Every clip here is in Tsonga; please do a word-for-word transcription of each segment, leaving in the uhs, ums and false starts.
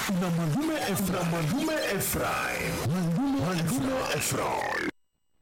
Na Malume Ephraim. Malume Ephraim. Malume Ephraim.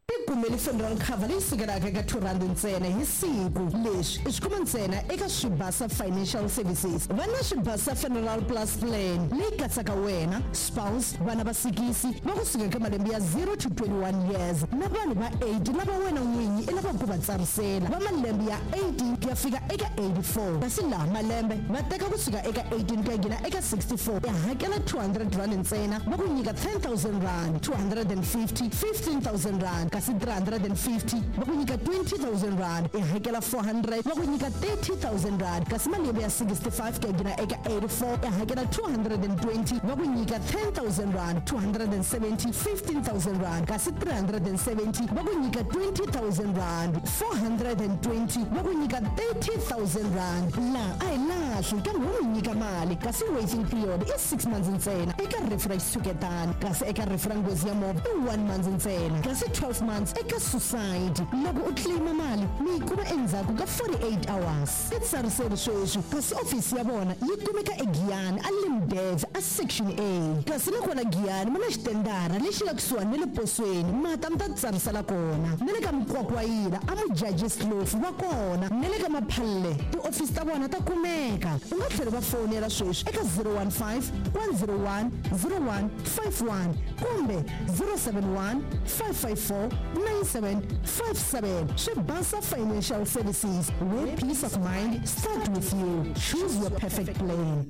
Tikumeli funeral cover leyi sukelaka eka two rand ntsena hi siku. Leswi i swi kuma ntsena eka Swibasa Financial Services. Va na Swibasa Funeral Plus Plan leyi katsaka wena, spouse, vana va sikisi va kusuka eka malembe ya zero to twenty-one years na vanhu va eight lava wena n'winyi i lavaka ku va tsarisela va malembe ya eighteen ku ya fika eka eighty-four. Kasi laha malembe va teka kusuka eka eighteen ku ya nghena eka sixty-four, ya hakela two hundred rand ntsena va ku nyika ten thousand rand, two hundred and fifty, fifteen thousand rand, kasi three hundred and fifty va ku nyika twenty thousand rand, i hakela four hundred va ku nyika thirty thousand rand, kasi malembe ya sixty-five ku ya nghena eka eighty-four i hakela two hundred and twenty va ku nyika ten thousand rand, two hundred and seventy, fifteen thousand rand, kasi three hundred and seventy va ku nyika twenty thousand rand, four hundred and twenty va ku nyika thirty thousand rand. Laha a hi lahli kambe wo mi nyika mali, kasi waiting period i six months ntsena eka rifu ra xitshuketana, kasi eka rifu ra nghozi ya movha i one month ntsena, kasi twelve months eka suicide. Loko u claima mali mi yi kuma endzhaku ka forty-eight hours. I tsariseri sweswi, kasi ofisi ya vona yi kumeka eGiyani a Limdev a Section A, kasi nakona Giyani ma na xitendara lexi nga kusuhani na le posweni, mata mi ta tsarisela kona, na le ka Mukwakwayila a Mujaji Slofu va kona, na le ka Maphalle tiofisi ta vona ta kumeka. U nga tlhela va fonela sweswi eka zero one five, one zero one, zero one five one kumbe zero seven one, five five four, nine seven five seven. Swibasa Financial Services, where peace of mind start with you. Choose your perfect plan.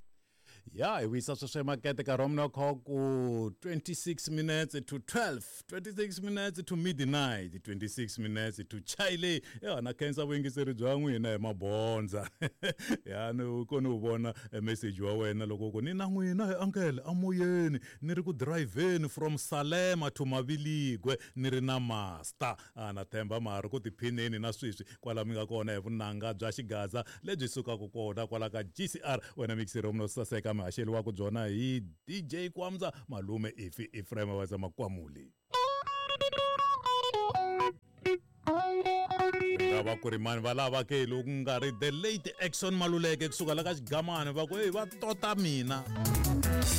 Ya hi wisa sweswo emakete nkarhi wa mina wa kha ku twenty-six minutes to twelve, twenty-six minutes to midnight, twenty-six minutes to Chile. Ya na khensa vuyingiseri bya n'wina hi mabondza. Ya ni ko ni wu vona message wa wena loko ku ni na n'wina hi uncle amoyeni ni ri ku driveni from Salema to Maviligwe ni ri na master. A na themba ma ri ku tiphineni na sweswi kwala mi nga kona hi vunanga bya xigaza lebyi sukaka kona kwala ka G C R. Wena mixero mno saseka mihaxeli wa ku byona hi D J Kwamza Malume Ifi Ephraim wa za Makwamuli. Va ku ri mani va lava ke loko nga ri the late Action Maluleke kusuka la ka xigamani va ku hey va tota mina.